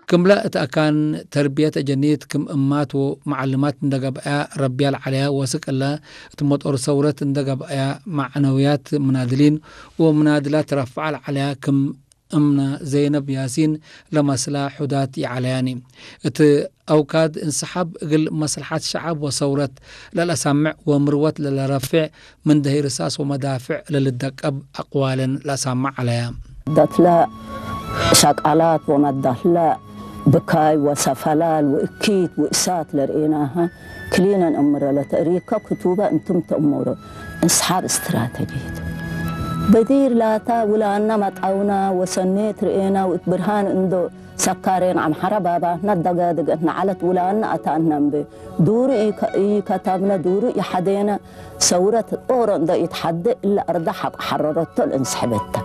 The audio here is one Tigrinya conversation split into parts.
ክምላ እቲ ኣካን ተርብየት ኣጀኒት ክም እማት ወ መዓልማት እንደገብኣያ ረቢያ ለዓለያ ወስቅ እለ እቲ መጦር ሰውረት እንደገብኣያ ማዕነውያት ምናድሊን ወምናድላት ረፍዓ ለዓለያ ክም እምና ዘይነብ ያሲን ለመስላ ሑዳት ይዓለያኒ። እቲ ኣውካድ እንስሓብ እግል መስልሓት ሸዓብ ወሰውረት ለለሳምዕ ወምርወት ለለረፍዕ ምን ደሂ ርሳስ ወመዳፍዕ ለልደቀብ ኣቅዋለን ለሳምዕ ዓለያ። ዳትላ ሻቃላት ወመዳህላ ብካይ ወሰፈላል ወእኪት ወእሳት ለርእናሃ ክሊነን እምረ ለተእሪካ ክቱበ እንትም ተእምሮ እንስሓብ ስትራተጂት በዲር ላታ ውላና መጣውና ወሰኔት ርእና ውእት ብርሃን እንዶ ሰካሬን ኣምሓራ ባባትና ደጋደገት ንዓለት ውላና ኣታእናምበ ዱሩ ኢከታብነ ዱሩ ኢሓዴነ ሰውረት ኦሮ እንዶ ኢትሓደ እለ ኣርዳ ሓቆ ሓረረቶ ለእንስሕበታ።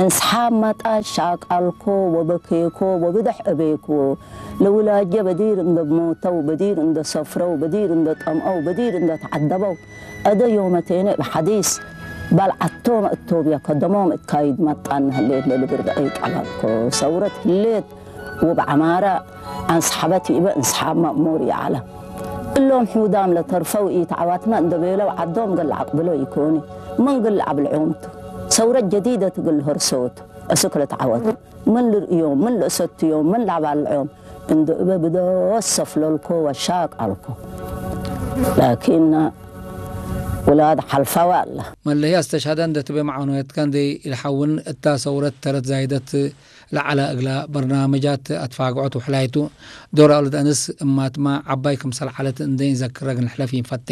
እንስሓብ መጣ ሻቃልኮ ወበኬኮ ወብድሕ እቤኮ ለውላጀ በዲር እንዶ ሞተው በዲር እንዶ ሰፍረው በዲር እንዶ ጠምአው በዲር እንዶ ተዓደበው እደ ዮመቴነ ብሓዲስ ባልዓቶም እቶብያ ከደሞም እካይድ መጣን ህሌት ለልብርድ ኣይቀላልኮ ሰውረት ህሌት ውብ ዓማራ ኣንስሓበት ይእበ እንስሓብ ማእሙር ይዓላ። እሎም ሕውዳም ለተርፈው ኢት ዓዋትና እንደ ቤለው ዓዶም ግል ዓቅብሎ ይኮኒ። ምን ግል ዓብልዖምቱ ሰውረት ጀዲደት ግል ሆርሶቱ እስክ ለተዓወቱ ምን ልርእዮም ምን ለእሰትዮም ምን ላባልዖም እንደ እበ ብደወስ ሰፍለልኮ ወሻቅ ኣልኮ ላኪን ውላድ ሓልፋዋ ኣላ። መለያ ዝተሻዳ እንደትበ መዓኖየትካ እንደ ኢልሓውን እታ ሰውረት ተረት ዛይደት ለዓላ እግላ በርናመጃት ኣትፋግዖት ውሕላይቱ ዶራ ልደንስ እማትማ ዓባይ ክምሰል ዓለት እንደ ይንዘክረግ ንሕለፍ ይንፈቴ።